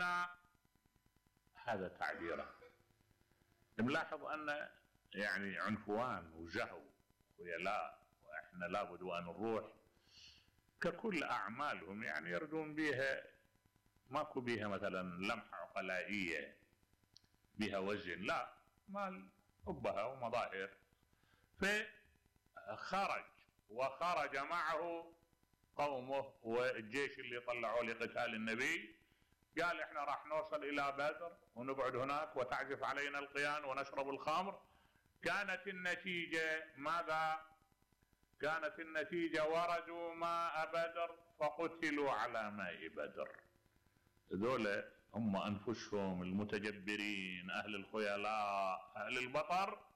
علينا، هذا تعبيره. نلاحظ ان يعني عنفوان وجهو ويلاء، واحنا لابد وان نروح ككل اعمالهم، يعني يردون بها، ماكو بها مثلا لمحة عقلائية بها وزن، لا، مال حبها ومظاهر. فخرج وخرج معه قومه والجيش اللي طلعوه لقتال النبي. قال احنا راح نوصل الى بدر ونقعد هناك وتعزف علينا القيان ونشرب الخمر. كانت النتيجة ماذا؟ كانت النتيجة وردوا ماء بدر فقتلوا على ماء بدر. ذولا هم انفسهم المتجبرين، اهل الخيلاء، اهل البطر،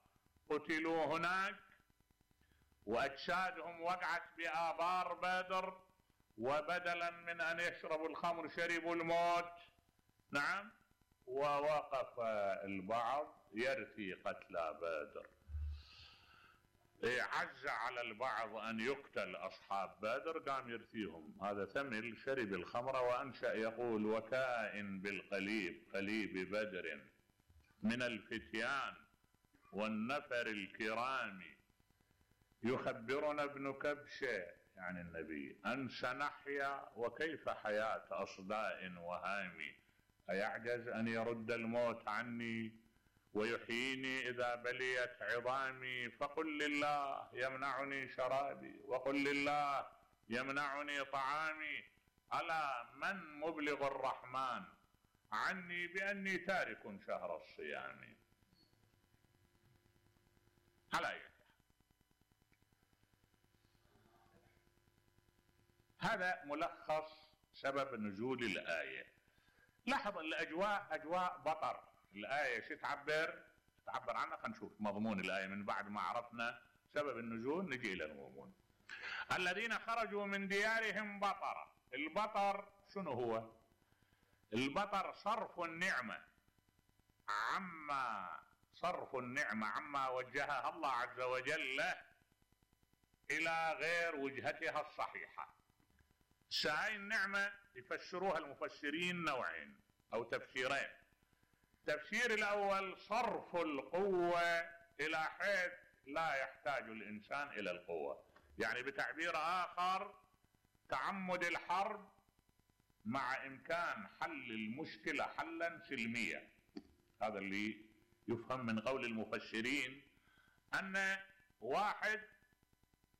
قتلوا هناك، واجسادهم وقعت بآبار بدر، وبدلا من ان يشربوا الخمر شربوا الموت. نعم. ووقف البعض يرثي قتلى بدر. عز على البعض ان يقتل اصحاب بدر، قام يرثيهم. هذا ثمل شرب الخمر وانشأ يقول: وكائن بالقليب قليب بدر من الفتيان والنفر الكرام، يخبرنا ابن كبشة يعني النبي أن سنحيا وكيف حياة أصداء وهامي، أيعجز أن يرد الموت عني ويحييني إذا بليت عظامي، فقل لله يمنعني شرابي وقل لله يمنعني طعامي، ألا من مبلغ الرحمن عني بأني تارك شهر الصيام. على أي هذا ملخص سبب نزول الآية. لاحظ الأجواء أجواء بطر. الآية شو تعبر عنها؟ خلينا نشوف مضمون الآية من بعد ما عرفنا سبب النزول، نجي إلى المضمون. الذين خرجوا من ديارهم بطرا. البطر شنو هو؟ البطر صرف النعمة عما وجهها الله عز وجل له إلى غير وجهتها الصحيحة. هاي النعمة يفسروها المفسرين نوعين أو تفسيرين. التفسير الأول صرف القوة إلى حيث لا يحتاج الإنسان إلى القوة، يعني بتعبير آخر تعمد الحرب مع إمكان حل المشكلة حلا سلميا. هذا اللي يفهم من قول المفسرين، أن واحد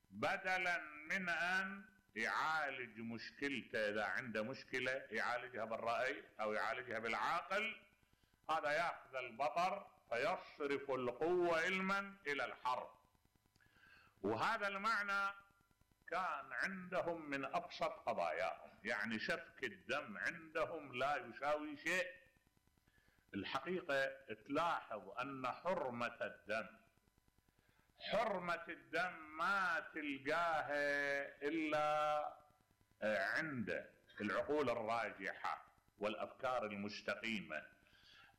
بدلا من أن يعالج مشكلته، إذا عنده مشكلة يعالجها بالرأي أو يعالجها بالعقل، هذا يأخذ البطر فيصرف القوة علما إلى الحرب. وهذا المعنى كان عندهم من أبسط قضاياهم، يعني سفك الدم عندهم لا يساوي شيء. الحقيقة تلاحظ أن حرمة الدم ما تلقاها إلا عند العقول الراجحة والأفكار المستقيمة.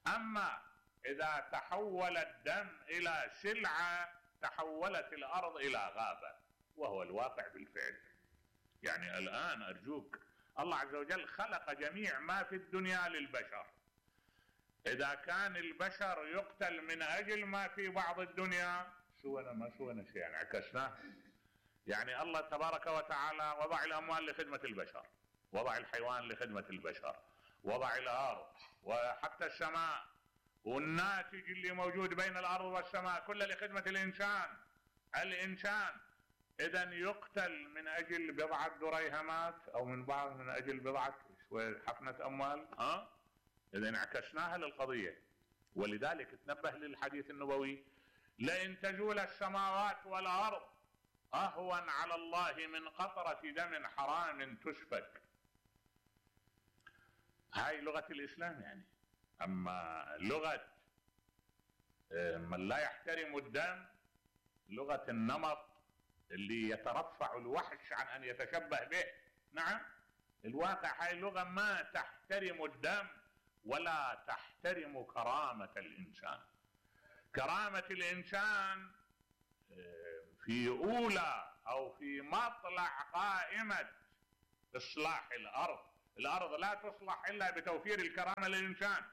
أما إذا تحول الدم إلى سلعة تحولت الأرض إلى غابة، وهو الواقع بالفعل. يعني الآن أرجوك، الله عز وجل خلق جميع ما في الدنيا للبشر. إذا كان البشر يقتل من أجل ما في بعض الدنيا، ما سوينا شيء، يعني عكسناه. يعني الله تبارك وتعالى وضع الأموال لخدمة البشر، وضع الحيوان لخدمة البشر، وضع الأرض وحتى السماء، والناتج اللي موجود بين الأرض والسماء كله لخدمة الإنسان. إذن يقتل من أجل بضعة دريهمات أو من أجل بضعة حفنة أموال. إذن عكسناها للقضية. ولذلك تنبه للحديث النبوي: لئن تزول السماوات والأرض أهون على الله من قطرة دم حرام تسفك. هاي لغة الإسلام يعني. أما لغة من لا يحترم الدم، لغة النمط اللي يترفع الوحش عن أن يتشبه به. نعم، الواقع هاي لغة ما تحترم الدم ولا تحترم كرامة الإنسان. كرامة الإنسان في أولى أو في مطلع قائمة إصلاح الأرض الأرض لا تصلح إلا بتوفير الكرامة للإنسان.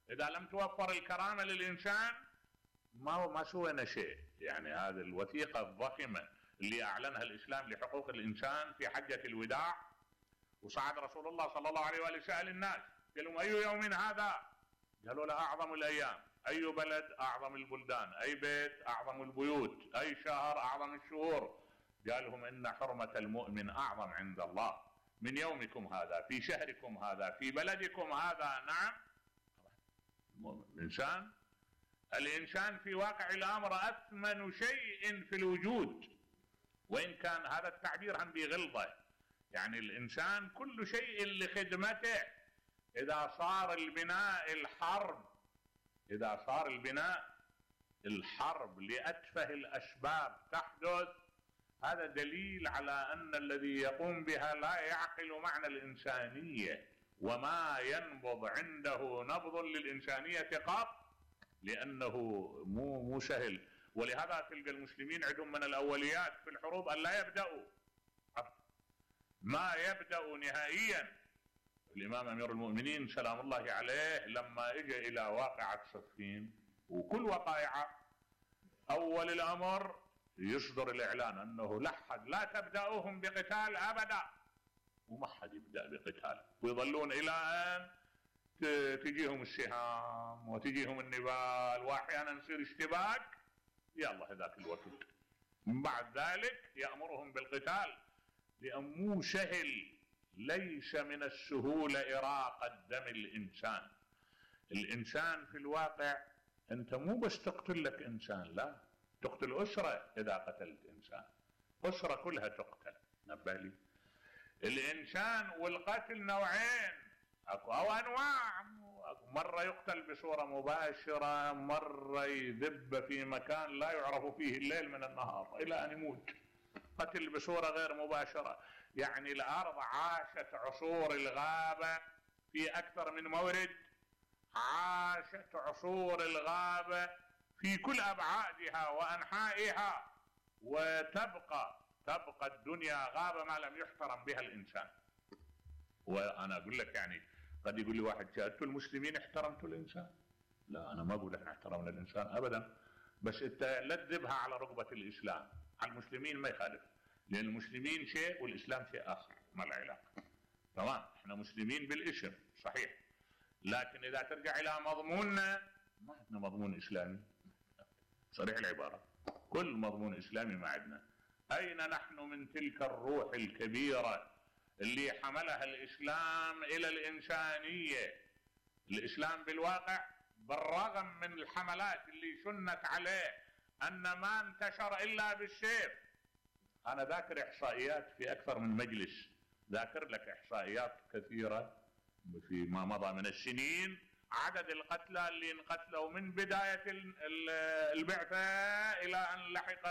إذا لم توفر الكرامة للإنسان ما سوينا شيء. يعني هذه الوثيقة الضخمة اللي أعلنها الإسلام لحقوق الإنسان في حجة الوداع، وصعد رسول الله صلى الله عليه وآله سأل الناس قال لهم: أي يوم هذا؟ قالوا له: أعظم الأيام. أي بلد؟ أعظم البلدان. أي بيت؟ أعظم البيوت. أي شهر؟ أعظم الشهور. قال لهم: إن حرمة المؤمن أعظم عند الله من يومكم هذا، في شهركم هذا، في بلدكم هذا. نعم، الإنسان في واقع الأمر أثمن شيء في الوجود، وإن كان هذا التعبير هم بغلظة. يعني الإنسان كل شيء لخدمته. إذا صار البناء الحرب لأتفه الأسباب تحدث، هذا دليل على أن الذي يقوم بها لا يعقل معنى الإنسانية، وما ينبض عنده نبض للإنسانية قط، لأنه مو سهل. ولهذا تلقى المسلمين عندهم من الأوليات في الحروب أن لا يبدأوا، ما يبدأوا نهائيا. الإمام أمير المؤمنين سلام الله عليه لما اجى إلى واقعة صفين وكل وقائعة، أول الأمر يصدر الإعلان أنه لا تبدأوهم بقتال أبدا، وما حد يبدأ بقتال، ويظلون إلى أن تجيهم السهام وتجيهم النبال، وأحيانا يصير اشتباك، يلا هذاك الوقت. من بعد ذلك يأمرهم بالقتال، لأن مو سهل، ليس من السهولة إراقة دم الإنسان. الإنسان في الواقع أنت مو بس تقتل لك إنسان، لا، تقتل أسرة. إذا قتلت إنسان أسرة كلها تقتل. نبالي الإنسان والقتل نوعين أو أنواع. مرة يقتل بصورة مباشرة، مرة يذب في مكان لا يعرف فيه الليل من النهار إلى أن يموت. قتل بصورة غير مباشرة، يعني الأرض عاشت عصور الغابة في أكثر من مورد، عاشت عصور الغابة في كل أبعادها وأنحائها، وتبقى الدنيا غابة ما لم يحترم بها الإنسان. وأنا أقول لك، يعني قد يقول لي واحد: شاهدت المسلمين احترمت الإنسان؟ لا، أنا ما أقول لك احترمنا الإنسان أبدا، بس أنت لا تذبها على رقبة الإسلام. على المسلمين ما يخالف، لأن المسلمين شيء والإسلام شيء آخر، ما له علاقة. تمام، احنا مسلمين بالاسم صحيح، لكن إذا ترجع إلى مضموننا ما عندنا مضمون إسلامي صريح العبارة، كل مضمون إسلامي ما عندنا. أين نحن من تلك الروح الكبيرة اللي حملها الإسلام إلى الإنسانية؟ الإسلام بالواقع بالرغم من الحملات اللي شنت عليه أن ما انتشر إلا بالسيف. أنا ذاكر إحصائيات في أكثر من مجلس، ذاكر لك إحصائيات كثيرة في ما مضى من السنين، عدد القتلى اللي انقتلوا من بداية البعثة إلى أن لحق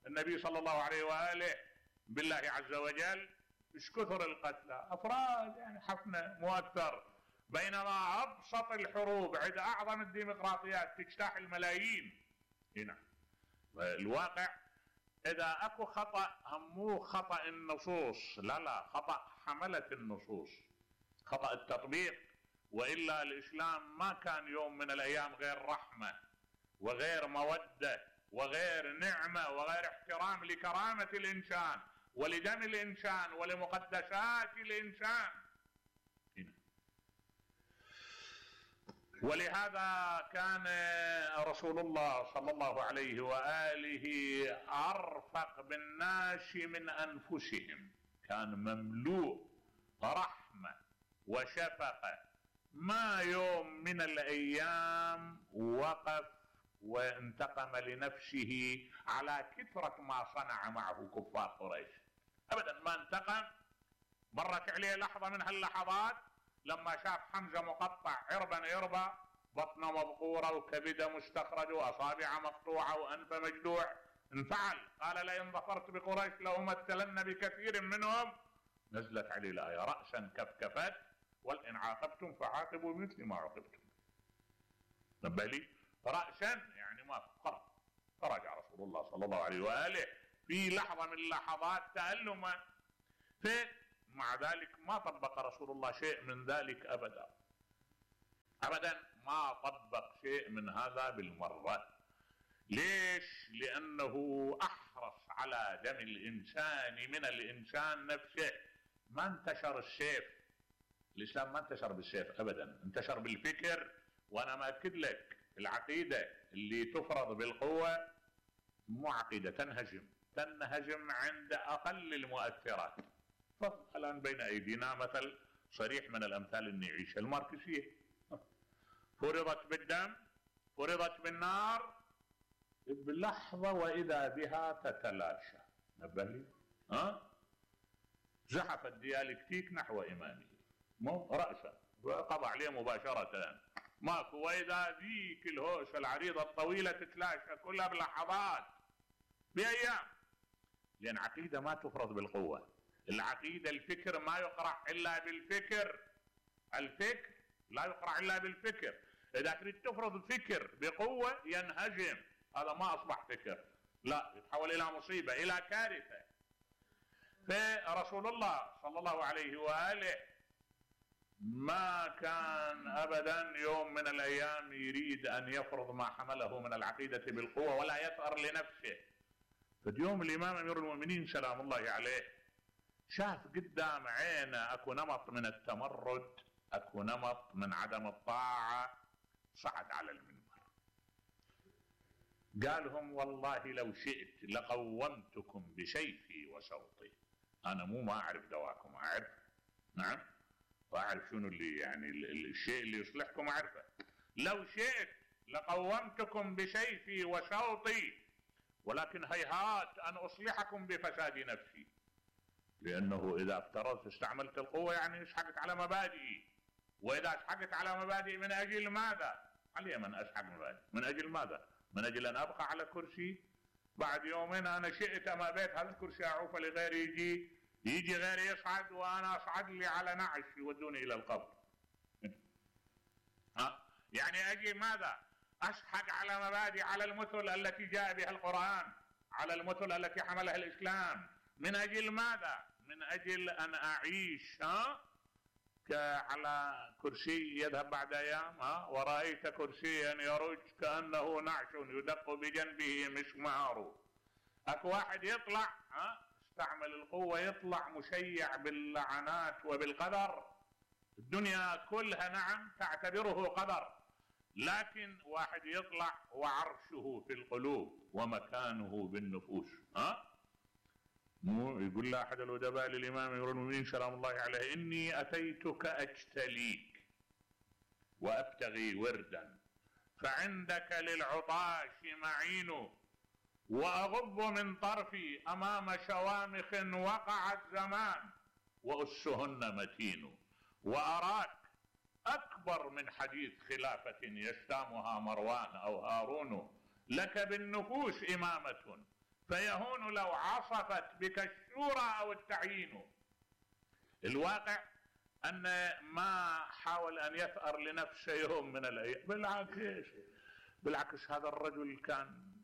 النبي صلى الله عليه وآله بالله عز وجل. ايش كثر القتلى، أفراد يعني حفنة مو أكثر، بينما أبسط الحروب عند أعظم الديمقراطيات تجتاح الملايين. هنا الواقع إذا أكو خطأ مو خطأ النصوص، لا، خطأ حملة النصوص، خطأ التطبيق. وإلا الإسلام ما كان يوم من الأيام غير رحمة وغير مودة وغير نعمة وغير احترام لكرامة الإنسان ولدم الإنسان ولمقدسات الإنسان. ولهذا كان رسول الله صلى الله عليه وآله أرفق بالناس من أنفسهم، كان مملوء رحمة وشفقة. ما يوم من الأيام وقف وانتقم لنفسه على كثرة ما صنع معه كفار قريش، أبدا ما انتقم. مرت عليه لحظة من هاللحظات لما شاف حمزة مقطع عربا بطنه مبقورة وكبده مستخرج وأصابع مقطوعة وأنف مجدوع، انفعل، قال: لئن ظفرت بقريش لأمثلن بكثير منهم. نزلت عليه الآية: رأسا كفكفت وإن عاقبتم فعاقبوا بمثل ما عوقبتم. نبالي رأسا يعني ما خرج. فرجع رسول الله صلى الله عليه وآله في لحظة من لحظات تألمه. مع ذلك ما طبق رسول الله شيء من ذلك ابدا ابدا، ما طبق شيء من هذا بالمرة. ليش؟ لانه احرص على دم الانسان من الانسان نفسه. ما انتشر السيف، الاسلام ما انتشر بالسيف ابدا، انتشر بالفكر. وانا ماكد لك العقيدة اللي تفرض بالقوة مو عقيدة، تنهجم عند اقل المؤثرات. الان بين ايدينا مثل صريح من الامثال اللي نعيشها، الماركسية فرضت بالدم، فرضت بالنار، بلحظة واذا بها تتلاشى. نبه لي زحف الديالكتيك نحو امامه، مو رأسا وقضى عليه مباشرة، ماكو، واذا ذيك الهوشة العريضة الطويلة تتلاشى كلها بلحظات، بايام. لان عقيدة ما تفرض بالقوة، العقيدة الفكر ما يقرع الا بالفكر، الفكر لا يقرع الا بالفكر. اذا تريد تفرض فكر بقوة ينهجم، هذا ما اصبح فكر، لا، يتحول الى مصيبة، الى كارثة. فرسول الله صلى الله عليه وآله ما كان ابدا يوم من الايام يريد ان يفرض ما حمله من العقيدة بالقوة ولا يثأر لنفسه. فاليوم الامام امير المؤمنين سلام الله عليه شاف قدام عينه اكو نمط من التمرد، اكو نمط من عدم الطاعة، صعد على المنبر قالهم والله لو شئت لقومتكم بسيفي وصوتي. انا مو ما اعرف دواكم، اعرف، نعم، واعرف شنو اللي يعني الشيء اللي يصلحكم اعرفه. لو شئت لقومتكم بسيفي وصوتي، ولكن هيهات ان اصلحكم بفساد نفسي. لانه اذا افترضت استعملت القوة يعني اسحقت على مبادئي، واذا اسحقت على مبادئي من اجل ماذا؟ علي من اسحق مبادئ، من اجل ماذا؟ من اجل ان ابقى على كرسي، بعد يومين انا شئت ما بيت هذا الكرسي اعوف لغيري، يجي غيري يصعد وانا اصعد لي على نعش يودوني الى القبر. يعني اجي ماذا؟ اسحق على مبادئ، على المثل التي جاء بها القرآن، على المثل التي حملها الاسلام. من اجل ماذا؟ من اجل ان اعيش على كرسي يذهب بعد ايام، ورأيت كرسيا يرج كأنه نعش يدق بجنبه مسمار. اكو واحد يطلع استعمل القوة، يطلع مشيع باللعنات وبالقدر، الدنيا كلها نعم تعتبره قدر، لكن واحد يطلع وعرشه في القلوب ومكانه بالنفوس. مو يقول له احد الادباء للامام امير المؤمنين سلام الله عليه: اني اتيتك اجتليك وابتغي وردا، فعندك للعطاش معين، واغض من طرفي امام شوامخ وقع الزمان، واسهن متين، واراك اكبر من حديث خلافة يشتامها مروان او هارون، لك بالنفوس امامة، فيهون لو عصفت بك الشورى او التعيين. الواقع ان ما حاول ان يثأر لنفسه يوم من الايام، بالعكس هذا الرجل كان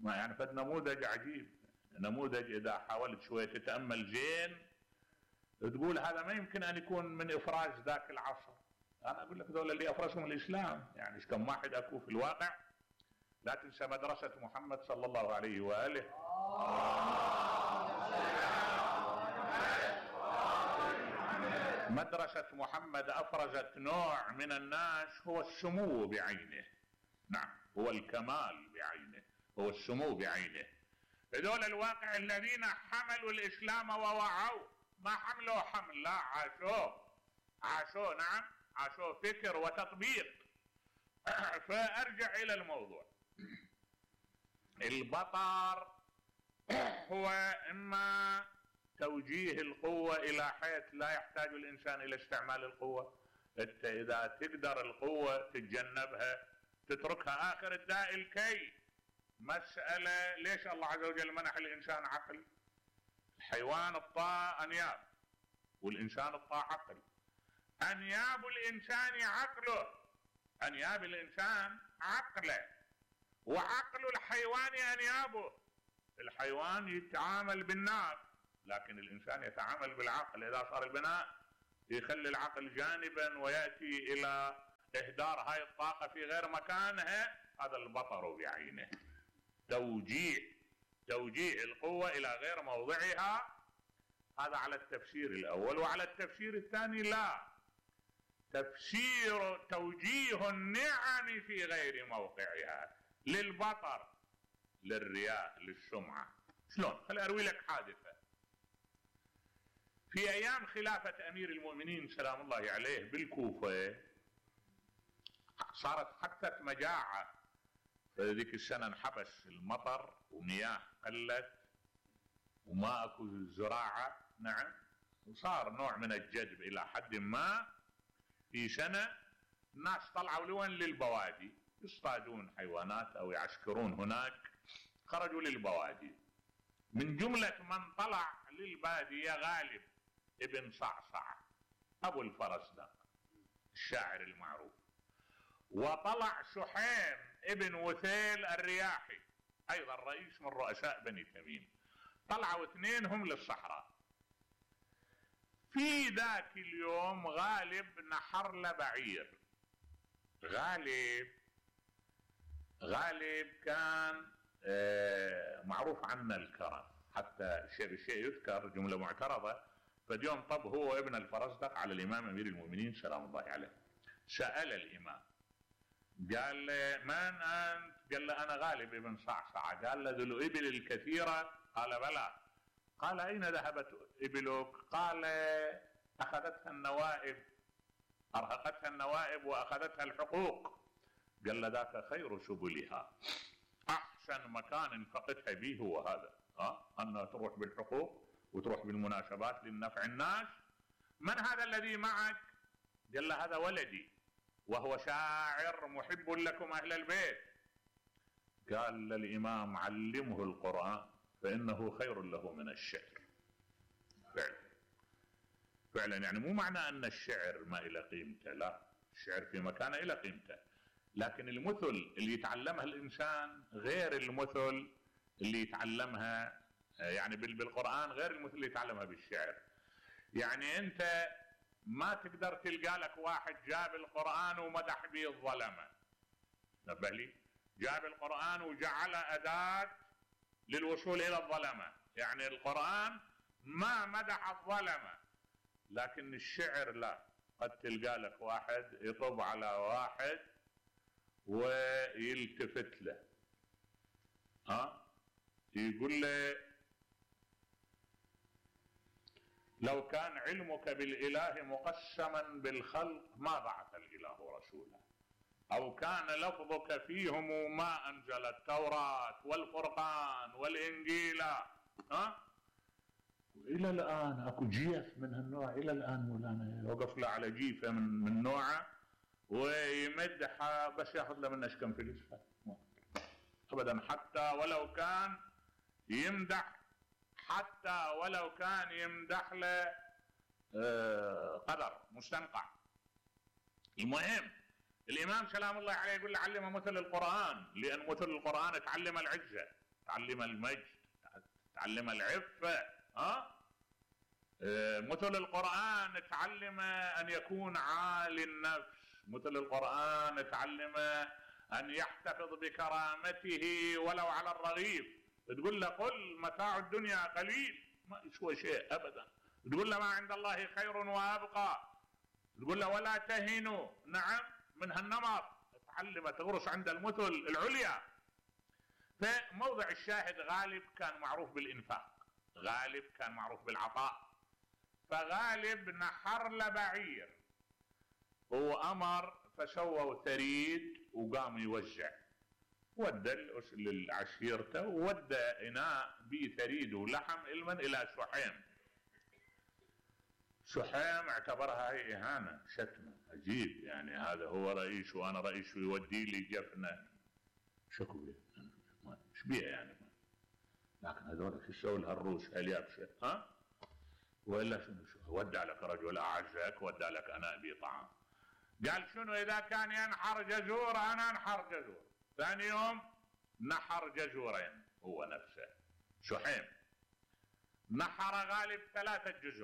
ما يعني فد نموذج عجيب، نموذج اذا حاولت شوية تتأمل زين تقول هذا ما يمكن ان يكون من افراز ذاك العصر. انا اقول لك ذولا اللي افرزهم الاسلام، يعني ايش كم واحد اكو في الواقع. لا تنسى مدرسة محمد صلى الله عليه وآله. مدرسة محمد أفرزت نوع من الناس هو السمو بعينه، نعم، هو الكمال بعينه، هو السمو بعينه. هذول الواقع الذين حملوا الإسلام ووعوا، ما حملوا حمل، لا، عاشوا، نعم، عاشوا فكر وتطبيق. فأرجع إلى الموضوع. البطر هو إما توجيه القوة إلى حيث لا يحتاج الإنسان إلى استعمال القوة. أنت إذا تقدر القوة تتجنبها، تتركها، آخر الداء الكي. مسألة ليش الله عز وجل منح الإنسان عقل؟ الحيوان الطاء أنياب، والإنسان الطاء عقل. أنياب الإنسان عقله، أنياب الإنسان عقله، وعقل الحيوان أنيابه. الحيوان يتعامل بالنار، لكن الإنسان يتعامل بالعقل. إذا صار البناء يخلي العقل جانبا ويأتي إلى إهدار هاي الطاقة في غير مكانها، هذا البطر بعينه. توجيه القوة إلى غير موضعها، هذا على التفسير الأول. وعلى التفسير الثاني لا، توجيه النعم في غير موقعها، للبطر، للرياء، للسمعة. شلون؟ خلي أروي لك حادثة. في أيام خلافة أمير المؤمنين سلام الله عليه بالكوفة صارت حادثة مجاعة. فذيك السنة انحبس المطر ومياه قلت وما اكو زراعة. نعم. وصار نوع من الجذب إلى حد ما. في سنة الناس طلعوا لوين؟ للبوادي، يصطادون حيوانات أو يعسكرون هناك، خرجوا للبوادي. من جملة من طلع للبادية غالب ابن صعصع أبو الفرزدق الشاعر المعروف، وطلع شحيم ابن وثيل الرياحي أيضا رئيس من رؤساء بني تميم. طلعوا اثنينهم للصحراء. في ذاك اليوم غالب نحر له بعير. غالب كان معروف عنه الكرم، حتى شيء يذكر جملة معترضة. فاليوم طب هو ابن الفرزدق على الإمام أمير المؤمنين سلام الله عليه. سأل الإمام قال له من أنت؟ قال له أنا غالب ابن صعصع. قال له ذو الإبل الكثيرة؟ قال بلى. قال أين ذهبت إبلك؟ قال أخذتها النوائب، أرهقتها النوائب وأخذتها الحقوق. قال له ذاك خير سبلها، أحسن مكان انفقتها به هو هذا، أنها تروح بالحقوق وتروح بالمناسبات للنفع الناس. من هذا الذي معك؟ قال له هذا ولدي وهو شاعر محب لكم أهل البيت. قال للإمام علمه القرآن فإنه خير له من الشعر. فعلا يعني مو معنى أن الشعر ما إلى قيمته، لا، الشعر في مكانه إلى قيمته، لكن المثل اللي يتعلمها الإنسان غير المثل اللي يتعلمها يعني بالقرآن، غير المثل اللي يتعلمها بالشعر. يعني أنت ما تقدر تلقى لك واحد جاب القرآن ومدح به الظلمة، نبه لي، جاب القرآن وجعل أداة للوصول إلى الظلمة. يعني القرآن ما مدح الظلمة، لكن الشعر لا، قد تلقى لك واحد يطب على واحد ويلتفت له، يقول له لو كان علمك بالإله مقسما بالخلق ما بعث الإله رسولا، أو كان لفظك فيهم ما أنزل التوراة والفرقان والإنجيل. إلى الآن أكو جيف من هالنوع، إلى الآن مولانا يوقف له على جيفة من نوعه ويمدحها، بس ياخذ له منه كم فلوس أبدا، حتى ولو كان يمدح، حتى ولو كان يمدح له قدر مستنقع. المهم الإمام سلام الله عليه يقول له علم مثل القرآن، لأن مثل القرآن تعلم العزة، تعلم المجد، تعلم العفة. مثل القرآن تعلم أن يكون عالي النفس، مثل القرآن تعلم أن يحتفظ بكرامته ولو على الرغيف. تقول له قل متاع الدنيا قليل، ما يسوى شيء أبدا. تقول له ما عند الله خير وأبقى. تقول له ولا تهنوا، نعم، من هالنمط تعلم تغرس عند المثل العليا. فموضع الشاهد غالب كان معروف بالإنفاق، غالب كان معروف بالعطاء. فغالب نحر له بعير وأمر فسووا ثريد وقام يوزع، ودى للعشيرته وودى إناء به ثريد ولحم علما إلى شحيم. شحيم اعتبرها هي إهانة، شتمة، عجيب، يعني هذا هو رئيس وأنا رئيس ويودي لي جفنة، شكو ايش بيها يعني. لكن هذول شو يسوي لها الروس اليابسة؟ وإلا شنو ودى لك رجل أعزك، ودى لك أنا أبي طعام. قال شنو إذا كان ينحر جزور أنا أنحر جزور. ثاني يوم نحر جزورين هو نفسه شحيم. نحر غالب 3 جزر.